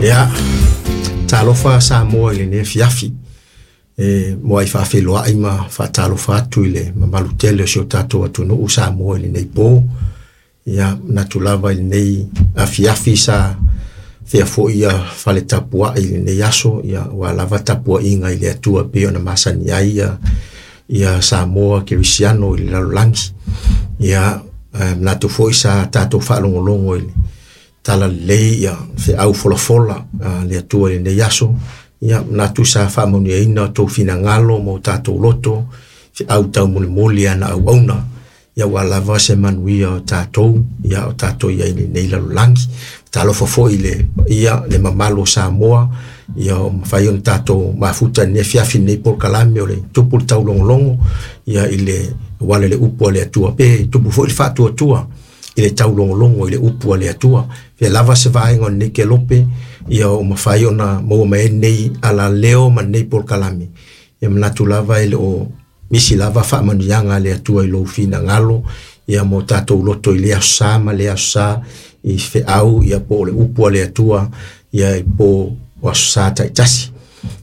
Ia, talofa Samoa i lenei afiafi. E muai faafeiloai ma faatalofa atu i le mamalu tele o si o tatou atunuu Samoa i lenei po. Ia, manatu lava i lenei afiafi sa fea foi ia fale tapuai i lenei aso, ia ua lava tapuaiga i le Atua pei ona masani ai ia Samoa Kerisiano i le lalolagi. Ia, manatu foi sa tatou faalogologo i le talalelei ia feau folafola a le Atua i lenei aso. Ia, manatu sa faamanuiaina o outou finagalo ma o tatou loto, feau taumolimoli a na auauna, ia ua lava se manuia o tatou, ia o tatou i ai i lenei lalolagi. Talofa foi i le paia, le mamalu o Samoa, ia o mafai ona tatou mafuta i lenei afiafi i lenei polokalame o le tupu le taulogologo, ia i le auala i le upu a le Atua, pe tupu foi le faatuatua i le taulogologo i le upu a le Atua. Fea lava se vaega o lenei kelope, ia o mafai ona maua mai ai lenei alaleo ma lenei polokalame, ia manatu lava e le o misi lava faamanuiaga a le Atua i lou finagalo, ia mo tatou loto i lea aso Sa ma lea aso Sa i feau, ia po o le upu a le Atua, ia i po o aso Sa taitasi.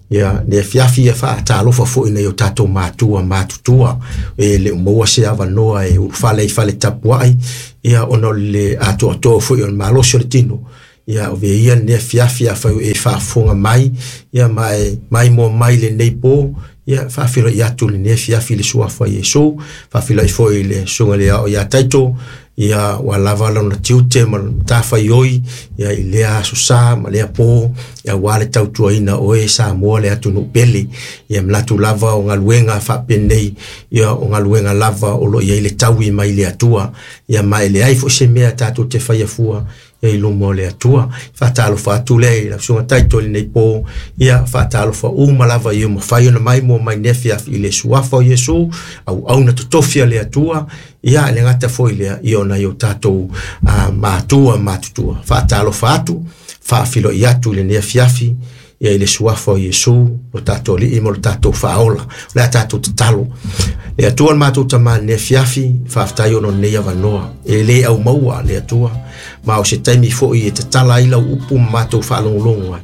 Ia, le afiafi ia faatalofa foi i nai o tatou matua matutua, e le o maua se avanoa e ulufale i fale tapuai, ia ona o le atoatoa foi o le malosi o le tino. Ia, o ia lenei afiafi afai o e faafofoga mai, ia ma e maimoa mai lenei po, ia faafeiloai atu lenei afiafi i le suafa o Iesu, faafeiloai foi i le susuga i le Ao ia Taito, ia ua lava lona tiute ma le matafaioi, ia i lea aso Sa ma lea po, ia aua le tautuaina o e Samoa le atunuu pele. Ia manatu lava o galuega faapenei, ia o galuega lava o lo o i ai le taui mai le Atua, ia ma e leai foi se mea tatou te faia fua i luma o le Atua. Faatalofa atu lea i lau susuga Taito i lenei po, ia faatalofa uma lava ia mafai ona maimoa mai lenei afiafi i le suafa o Iesu, auauna totofi a le Atua, ia le gata foi lea, ia o nai o tatou matua matutua. Faatalofa atu, faafeiloai atu i lenei afiafi, ia i le suafa o Iesu, lo tatou Alii ma lo tatou Faaola. O le a tatou tatalo. Le Atua le matou Tama i lenei afiafi, faafetai ona o lenei avanoa. E le aumaua le Atua, ma o se taimi foi e tatala ai lau upu ma matou faalogologo ai.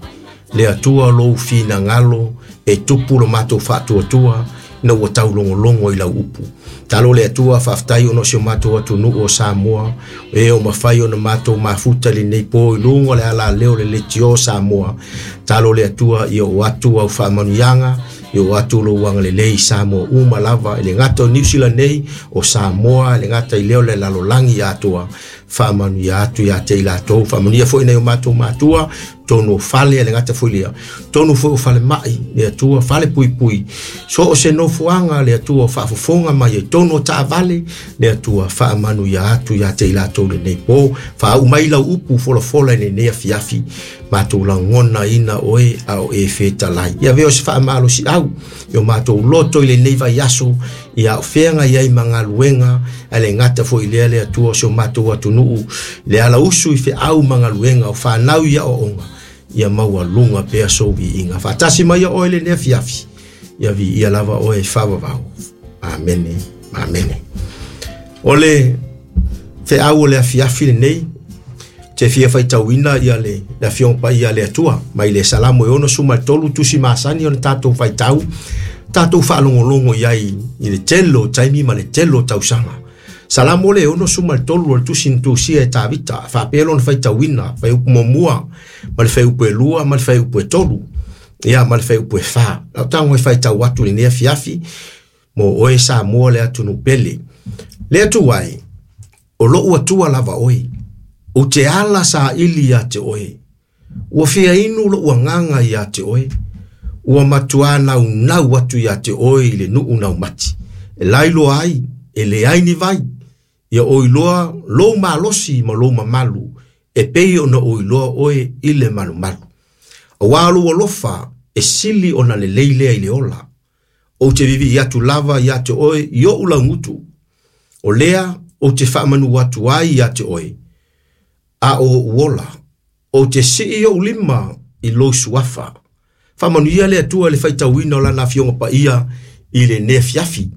Le Atua lou finagalo e tupu lo matou faatuatua, ina ua taulogologo i lau upu. Talo le Atua, faafetai ona o si o matou atunuu o Samoa, e o mafai ona matou mafuta i lenei po i luga o le alaleo le leitio o Samoa. Talo le Atua, ia o atu au faamanuiaga, ia o atu lou agalelei i Samoa uma lava, i le gata o Niu Sila nei, o Samoa, i le gata i lea o le lalolagi atoa. Faamanuia atu ia te i latou, faamanuia foi nai o matou matua, tonu o fale, le gata foi lea, tonu foi o fale mai, le Atua, fale puipui, so o se nofoaga le Atua o faafofoga mai ai, tonu o taavale, le Atua, faamanuia atu ia te i latou lenei po, faauu mai lau upu folafola i lenei afiafi, matou lagonaina oe a o e fetalai. Ia avea o se faamalosiau i o matou loto i lenei vaiaso, ia o feagai ai ma galuega, ae le gata foi lea le Atua o si o matou atunuu, le alausu i feau ma galuega o fanau i aoaoga, ia maualuga pea sou viiga. Faatasi mai ia oe lenei afiafi, ia viia lava oe faavavau. Amene, amene. O le feau o le afiafi lenei, te fia faitauina ia le afioga paia a le Atua, mai le Salamo e 63 tusi masani ona tatou faitau, tatou faalogologo i ai i le tele o taimi ma le tele o tausaga. Salamo le 63 o le tusi na tusia e Tavita, faapea lona faitauina, fuaiupu muamua, ma le fuaiupu e 2, ma le fuaiupu e 3, ia ma le fuaiupu e 4. Lau tago e faitau atu i lenei afiafi, mo oe Samoa le atunuu pele. Le Atua e, o lou Atua lava oe, ou te ala saili ia te oe. Ua fia inu lou agaga ia te oe, ua matua naunau atu ia te oe i le nuu naumati. E lailoa ai, e leai ni vai, ia o iloa lou malosi ma lou mamalu, e pei ona o iloa oe i le malumalu. Auā lou alofa e sili ona lelei lea i le ola. Ou te vivii atu lava ia te oe i ou laugutu. O lea ou te faamanu atu ai ia te oe, a o ou ola, ou te sii ou lima i lou suafa. Faamanuia le Atua i le faitauina o lana afioga paia i lenei afiafi.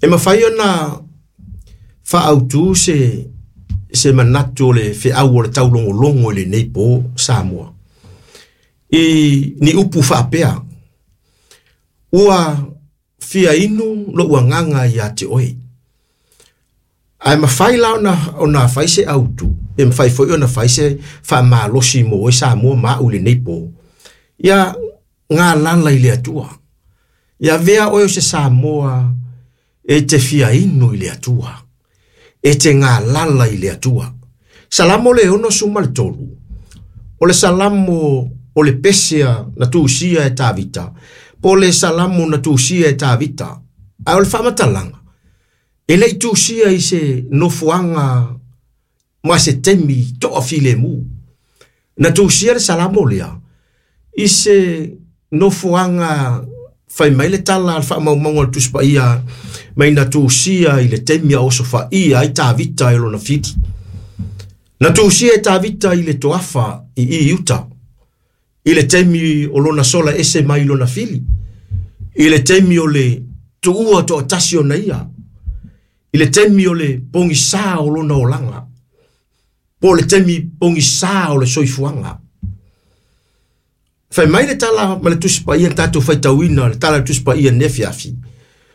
E mafai ona faaautu se manatu o le feau o le taulogologo i lenei po Samoa. I ni upu faapea, ua fia inu lo'u agaga ia te oe. Ae mafai la ona fai se autu, pe mafai foi ona fai se faamalosi mo oe Samoa ma a'u i lenei po. Ia galala i le Atua. Ia avea oe o se Samoa e te fia inu i le Atua. E te galala i le Atua. Salamo le 63. O le Salamo o le pesea na tusia e Tavita. Po le Salamo na tusia e Tavita. Ae o le faamatalaga, e le'i tusia i se nofoaga ma se taimi to'afilemu. Na tusia le Salamo lea i se nofoaga fai mai le tala a le faamaumauga o le Tusi Paia mai na tusia i le taimi a osofaia ai Tavita e lona fili. Na tusia e Tavita i le toafa i Iuta, i le taimi o lona sola ese mai lona fili, i le taimi o le tuua to'atasi ona ia, i le taimi o le pogisā o lona olaga, po o le taimi pogisā o le soifuaga. Fai mai le tala ma le Tusi Paia na tatou faitauina, le tala o le Tusi Paia i lenei afiafi,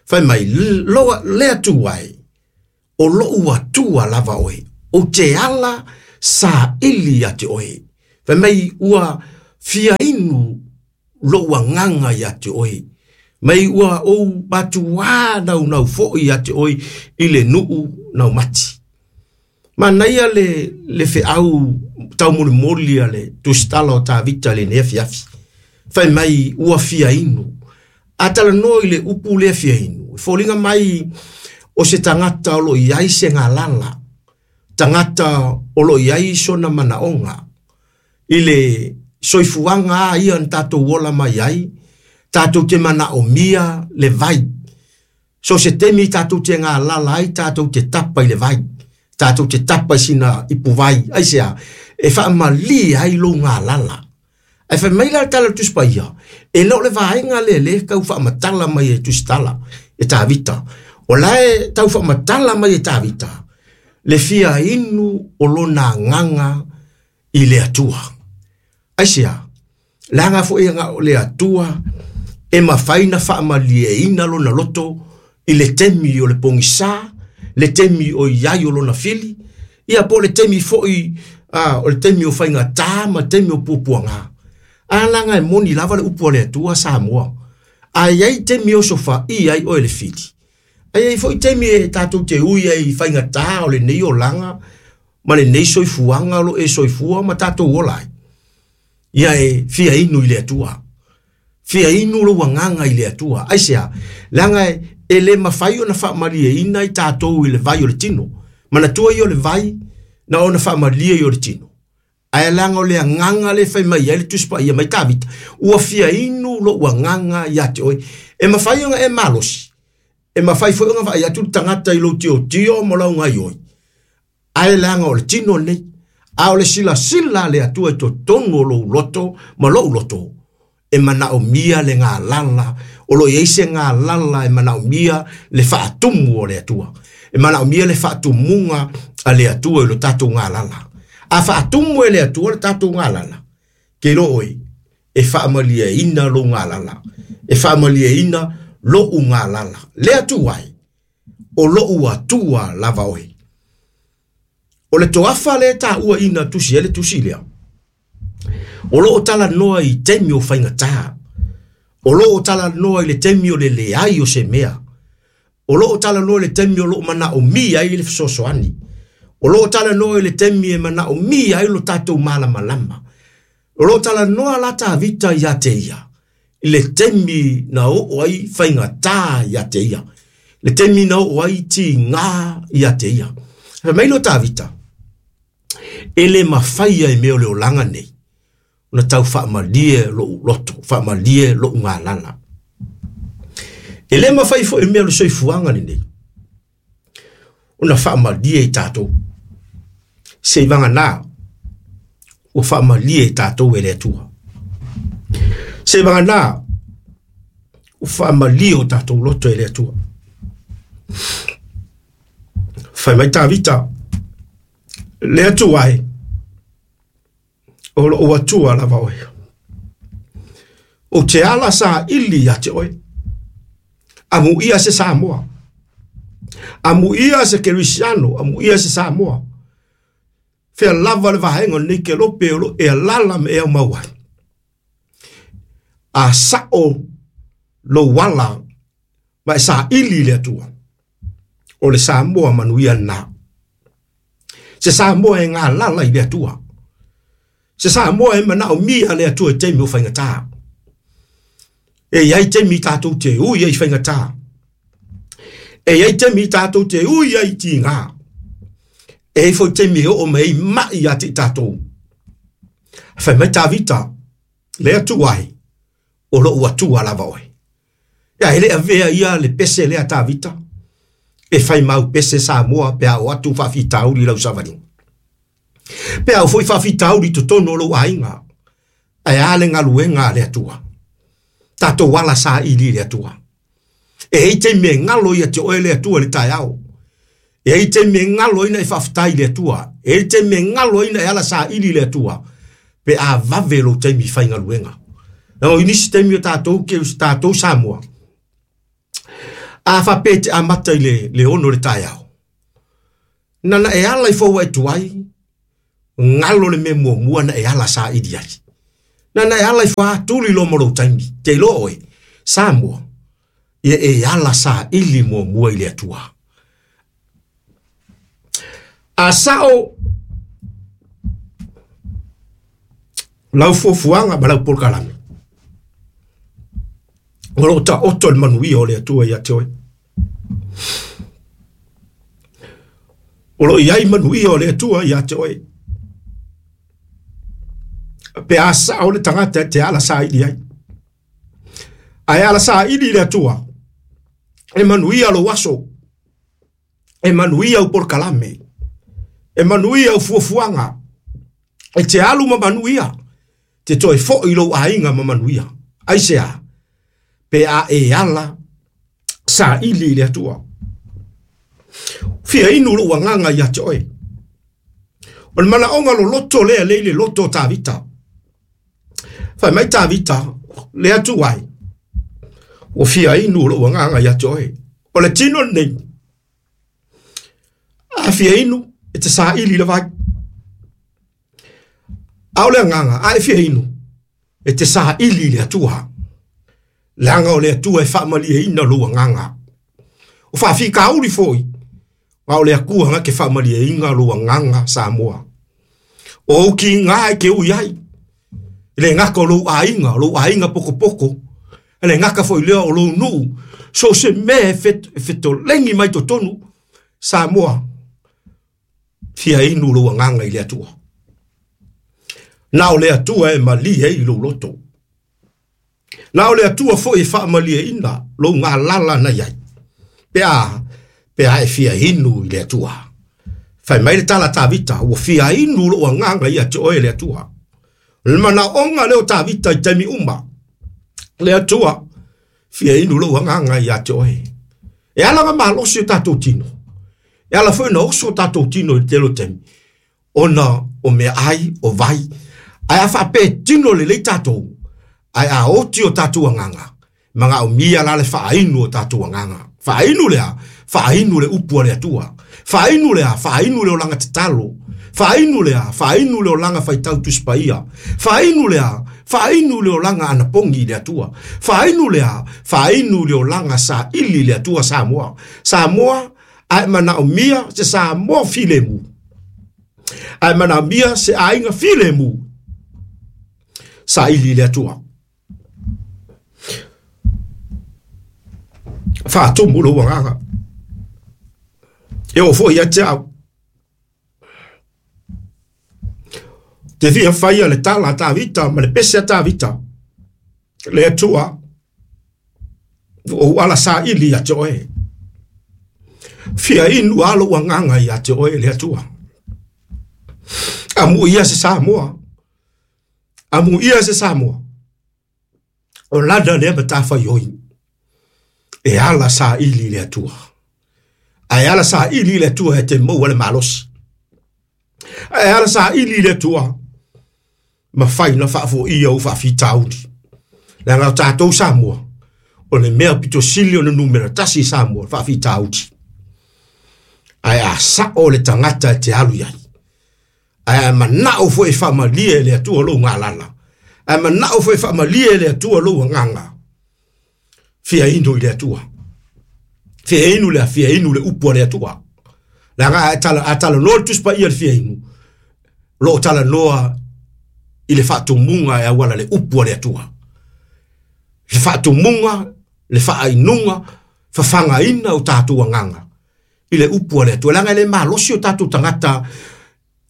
fai mai, loa le Atua e, o lo'u Atua lava oe, ou te ala saili ia te oe. Fai mai, ua fia inu lo'u agaga ia te oe, mai ua ou matuā naunau foi ia te oe i le nuu naumati. Manaia le feau taumolimoli a le tusitala o Tavita i lenei afiafi. Fai mai ua fia inu. A talanoa i le upu lea fia inu, e foliga mai o se tagata o lo o i ai se galala, tagata o lo o i ai sona manaoga. I le soifuaga a ia na tatou ola mai ai, tatou te manaomia le vai. So se taimi tatou te galala ai, tatou te tapa i le vai. Tatou te tapa i sina ipuvai, aisea, e faamalie ai lou galala. Ae fai mai la le tala o le Tusi Paia, e le o le vaega lea lea e tau faamatala mai e Tusitala, e Tavita. O la e tau faamatala mai e Tavita, le fia inu o lona agaga i le Atua. Aisea, leaga foi o le Atua e mafai na faamalieina lona loto i le taimi o le pogisā, le taimi o i ai o lona fili, ia po o le taimi foi o le taimi o faigatā ma le taimi o puapuaga. A laga e moni lava le upu a le Atua Samoa. A i ai taimi e osofaia ai oe le fili, a i ai foi taimi e tatou te ui ai i faigatā o lenei olaga ma lenei soifuaga o lo o e soifua ma tatou ola ai. Ia e fia inu i le Atua. Fia inu lou agaga i le Atua. Aisea, leaga e le mafai ona faamalieina i tatou i le vai o le tino. Manatua ia o le vai na ona faamalie i o le tino. Ae leaga o le agaga le fai mai ai le Tusi Paia mai Tavita, ua fia inu lou agaga ia te oe. E mafai ona e malosi, e mafai foi ona vaai atu le tagata i lou tiotio ma lau gaioi. Ae leaga o le tino lenei, a o le silasila a le Atua i totonu o lou loto ma lou loto, e manaomia le galala, o lo o i ai se galala e manaomia le faatumu o le Atua. E manaomia le faatumuga a le Atua i lo tatou galala. A faatumu e le Atua le tatou galala, ke iloa oe, e faamalieina lou galala, e faamalieina lo'u galala. Le Atua e, o lo'u Atua lava oe. O le toafa lea e taua i na tusi ai le tusi lea, o lo o talanoa i taimi o faigatā, o lo o talanoa i le taimi o le leai o se mea, o lo o talanoa i le taimi o lo o manaomia ai le fesoasoani, o lo o talanoa i le taimi e manaomia ai lo tatou malamalama. O lo o talanoa la Tavita ia te ia, i le taimi na oo ai faigatā ia te ia, le taimi na oo ai tigā ia te ia. Fai mai lea o Tavita, e le mafai e mea o le olaga nei, ona tau faamalie lo'u loto, faamalie lo'u galala. E le mafai foi mea o le soifuaga lenei, ona faamalie i tatou. Seivagana, ua faamalie i tatou e le Atua. Seivagana, ua faamalie o tatou loto e le Atua. Fai mai Tavita, le Atua e, o lo'u Atua lava oe. Ou te ala saili ia te oe. Amuia se Samoa. Amuia se Kerisiano, amuia se Samoa. Fea lava le vaega o lenei kelope o lo e alala ma e aumau ai. A sao lou ala ma e saili i le Atua, o le Samoa manuia lena. Se Samoa e galala i le Atua. Se Samoa e manaomia le Atua i taimi o faigata. E i ai taimi tatou te ui ai i faigata. E i ai taimi tatou te ui ai i tiga. E i ai foi taimi e oo mai ai mai ia te i tatou. Fai mai Tavita, le Atua e, o lou Atua lava oe. Ia e le avea ia le pese lea Tavita, e fai mau pese Samoa pe a o atu faafitauli i lau savaliga. Pe a o foi faafitauli i totonu o lou aiga, ae a le galuega a le Atua. Tatou ala saili i le Atua. E i ai taimi e galo ia te oe le Atua i le taeao. E i ai taimi e galo ai na e faafetai i le Atua. E i ai taimi e galo ai na e ala saili i le Atua. Pe a vave lou taimi faigaluega. Leaga o nisi taimi o tatou, ke tatou Samoa, a faapea e te amata i le 6 o le taeao, na na e ala i fou e tuai, galo le mea muamua na e ala saili ai. Na na e ala i fua tuli loa ma lou taimi, te iloa oe, Samoa, ia e ala saili muamua i le Atua. A sao lau fuafuaga ma lau polokalame, o lo o taoto le manuia o le Atua ia te oe. O lo o i ai manuia o le Atua ia te oe. Pe a sao le tagata e te ala saili ai. Ae ala saili i le Atua, e manuia lou aso, e manuia au polokalame, e manuia au fuafuaga, e te alu ma manuia, te toe foi lou aiga ma manuia. Aisea? Pe a e ala saili i le Atua. Fia inu lou agaga ia te oe. O le manaoga loloto lea lea i le loto o Tavita. Fai mai Tavita, le Atua e, ua fia inu lou agaga ia te oe. O le tino lenei, a fia inu, e te saili i le vai. A o le agaga, a e fia inu, e te saili i le Atua. Leaga o le Atua e faamalieina lou agaga. O faafitauli foi, a o le Atua na ke faamalieina lou agaga Samoa. O ou kiga e te ui ai, e le gata o lou aiga, o lou aiga pokopoko, e le gata foi lea o lou nuu, so se mea e fetoleni mai totonu, Samoa, fia inu lou agaga i le Atua. Na o le Atua e malie ai lou loto. Na o le Atua foi e faamalieina lou galala na i ai. Pe a e fia inu i le Atua. Fai mai le tala Tavita, ua fia inu lou agaga ia te oe le Atua. Le manaoga lea o Tavita i taimi uma. Le Atua, fia inu lou agaga ia te oe. E ala na malosi o tatou tino. E ala foi na oso o tatou tino i le tele o taimi. Ona o mea ai, o vai. Ae a faapea tino lelei tatou, ae a oti o tatou agaga, manaomia la le faainu o tatou agaga. Faainu lea, faainu le upu a le Atua. Faainu lea, faainu le olaga tatalo. Faainu lea, faainu le olaga faitau Tusi Paia. Faainu lea, faainu le olaga anapogi i le Atua. Faainu lea, faainu le olaga saili i le Atua Samoa. Samoa, ae manaomia se Samoa filemu. Ae manaomia se aiga filemu. Saili i le Atua. Faatumu lou agaga. E oo foi ia te au. Te fia faia le tala a Tavita ma le pese a Tavita. Le Atua, ua ou ala saili ia te oe. Fia inu a lou agaga ia te oe le Atua. Amuia se Samoa. Amuia se Samoa. O lana lea matafaioi. E ala saili i le Atua. Ae ala saili i le Atua e te maua le malosi. Ae ala saili i le Atua, mafai na faafoia ou faafitauli. Leaga o tatou Samoa, o le mea pito sili ona numera tasi i Samoa, faafitauli. Ae a sao le tagata e te alu i ai, ae a manao foi e faamalie e le Atua lou galala, ae manao foi e faamalie e le Atua lou agaga, fia inu i le Atua. Fia inu le fia inu le upu a le Atua. Leaga a talanoa le Tusi Paia i le fia inu, o lo o talanoa i le faatumuga e auala le upu a le Atua. Le faatumuga, le faainuga, fafagaina o tatou agaga i le upu a le Atua. Leaga e le malosi o tatou tagata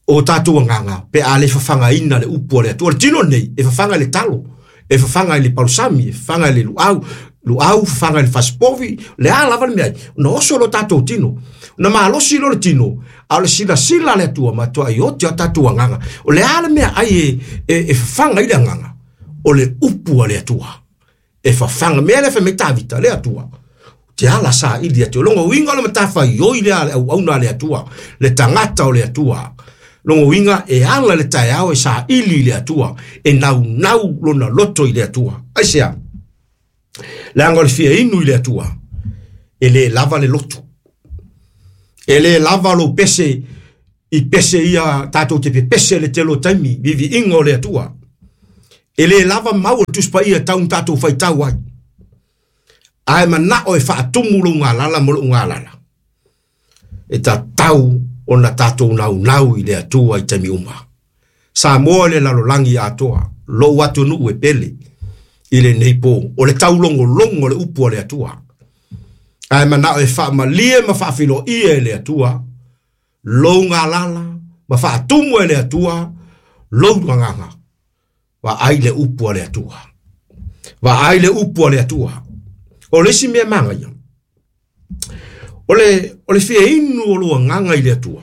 o tatou agaga pe a le fafagaina le upu a le Atua. O le tino nei, e fafaga i le talo, e fafaga i le palusami, e fafaga i le luau, luau, fafaga i le fasipovi, le a lava le mea ai, ona oso lo tatou tino. Na malosi lo le tino, a o le silasila a le Atua matuai oti a tatou agaga. O le a le mea ai e fafaga i le agaga, o le upu a le Atua. E fafaga, mea le fai mai Tavita, le Atua. Te ala sa ili atu. Longo uiga o le matawhai oi le ale au auna le Atua, le tagata o le Atua. Longo uiga e ala le taeao e sa ili le Atua, e nau nau lona loto i le Atua. Ai sea, leaga o le fia inu i le Atua, e le lava le lotu. E le lava lo pese, i pese ia tātou te pepese le telo taimi, vivi inga o le Atua. E le lava mau o le Tusi Paia tau tātou whaitau ai. Ae manao e faatumu lou galala ma lou galala. E tatau ona tātou naunau i le Atua i taimi uma. Samoa le lalolagi atoa, lou atunuu e pele i lenei po, o le taulogologo le upu a le Atua. Ae manao e faamalie ma faafiloia e le Atua, lou galala ma faatumu e le Atua, lou agaga. Vaai le upu a le Atua. Vaai le upu a le Atua. O le isi mea magaia, o le fia inu o lou agaga i le Atua,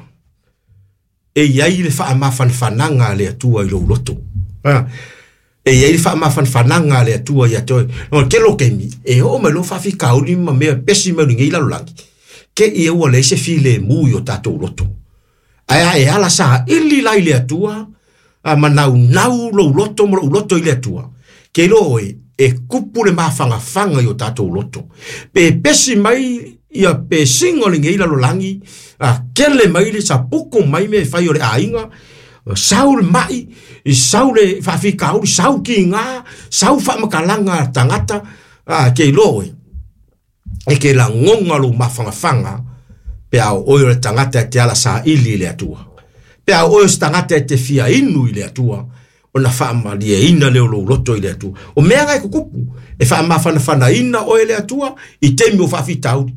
e iai le faamafanafanaga a le Atua i lou loto. E iai le faamafanafanaga a le Atua ia te oe. No te lo kemi, e oo mai lo faafitauli ma mea pesi mai lenei lalolagi, ke ia ua leai se filemu i o tatou loto. Ae e ala sa ili la i le Atua, a manaunau lou loto ma lou loto i le Atua. Ke iloa oe, e kupu le mafangafanga i o tatou loto. Pe pesi mai ia pesiga o lenei lalolagi, a kele mai le sapuku mai me fai o le aiga, sau le mai, sau le faafitauli, sau kiga, sau faamakalaga a tagata, a ke iloa oe, e ke lagoga lou mafangafanga, pe a o oe o le tagata e te ala saili i le Atua. Pe a o oe o se tagata e te fia inu i le Atua, ona faamalieina lea o lou loto i le Atua. O mea ngai kukupu, e faamafanafanaina oe le Atua i taimi o faafitauli.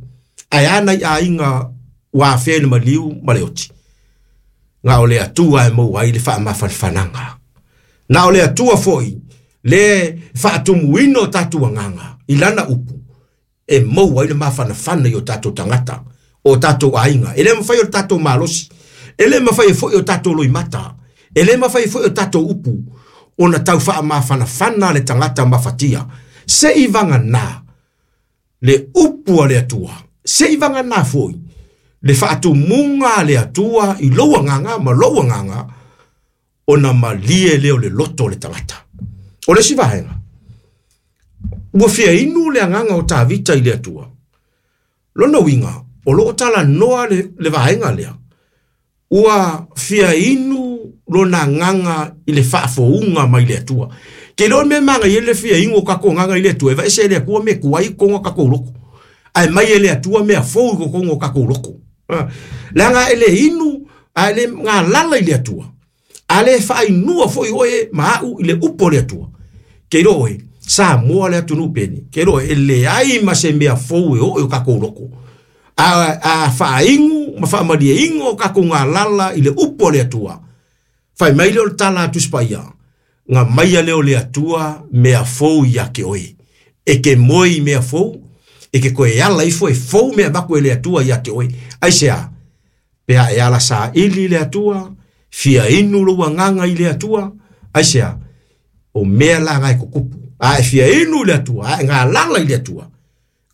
Ae a nai aiga ua afea i le maliu ma le oti. Na o le Atua e maua ai le faamafanafanaga. Na o le Atua foi le faatumuina o tatou agaga i lana upu, e maua ai le mafanafana i o tatou tagata, o tatou aiga. E le mafai o le tatou malosi, e le mafai foi o tatou loimata, e le mafai foi o tatou upu, ona tau faamafanafana le tagata mafatia. Se i vagana le upu a le Atua, se i vagana foi le faatumuga a le Atua i lou agaga ma lou agaga, ona malie lea o le loto o le tagata. O le isi vaega, ua fia inu le agaga o Tavita i le Atua. Lona uiga, o loo talanoa le vaega lea, ua fia inu lona agaga i le faafouga mai le Atua. Ke iloa mea magaia le fia inu o tatou agaga i le Atua, e vaese e le Atua mea tuai i totonu o tatou loto. Ae mai e le Atua mea fou i totonu o tatou loto. Leaga e le inu, ae le galala i le Atua. A le faainua foi oe ma au i le upu o le Atua. Ke iloa oe, Samoa le atunuu pele. Ke iloa e leai ma se mea fou e oo i o tatou loto. A faainu ma faamalieina o tatou galala i le upu o le Atua. Fai mai lea o le tala a Tusi Paia, nga maia lea o le Atua mea fou ia te oe. E ke moe i mea fou, e ke koe ala ifo e fou mea avatu e le Atua ia te oe. Aisea, pe a e ala saili i le Atua, fia inu lou agaga i le Atua, aisea, o mea la ngai kukupu. A e fia inu i le Atua, a e galala i le Atua,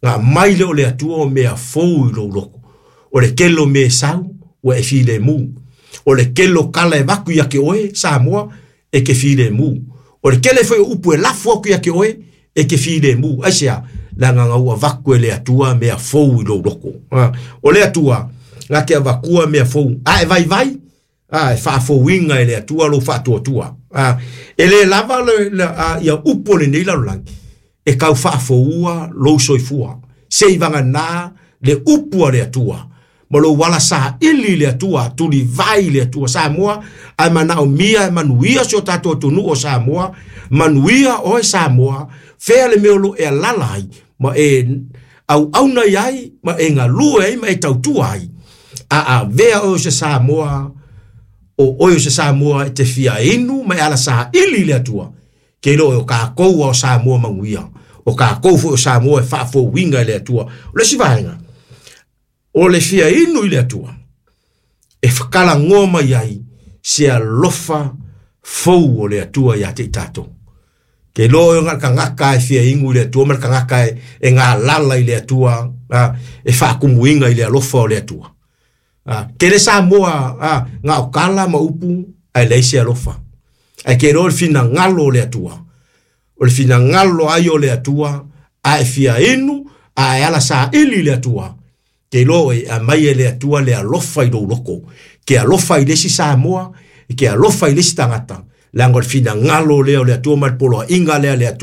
nga mai lea o le Atua o mea fou i lou loko. O le tele o mea e sau, ua e filemu. O le tele o kala e vaku ia te oe, Samoa, e ke filemu. O le tele foi o upu e lafo atu ia te oe, E te filemu. Aisea? Leaga na ua avatu e le Atua mea fou i lou loto. O le Atua na te avatua mea fou. A e vaivai, e faafouina e le Atua lou faatuatua. E le lava ia upu o lenei lalolagi e tau faafoua lou soifua. Seivagana le upu a le Atua ma lou ala saili i le Atua, tulivai i le Atua. Samoa, a e manaomia e manuia si o tatou atunuu o Samoa, manuia oe Samoa, fea le mea o lo o e alaala ai ma e auauna i ai ma e galue ai ma e tautua ai, a avea oe o se Samoa, o oe o se Samoa e te fia inu ma e ala saili i le Atua, ke iloa o tatou lava o Samoa manuia, o tatou foi o Samoa e faafouina e le Atua. O le isi vaega, o le fia inu i le Atua, e talanoa mai ai se alofa fou o le Atua ia te i tatou. Ke iloa oe na o le tagata e fia inu i le Atua ma le tagata e galala i le Atua, e faatumuina i le alofa o le Atua. Tele Samoa na o tala ma upu ae leai se alofa. Ae ke iloa le finagalo o le Atua, o le finagalo ai o le Atua, a e fia inu, a e ala saili i le Atua, ke iloa oe e aumai e le Atua le alofa i lou loto. Ke alofa i le isi Samoa, e ke alofa i le isi tagata, leaga o le finagalo lea o le Atua ma le poloaiga lea a le Atua.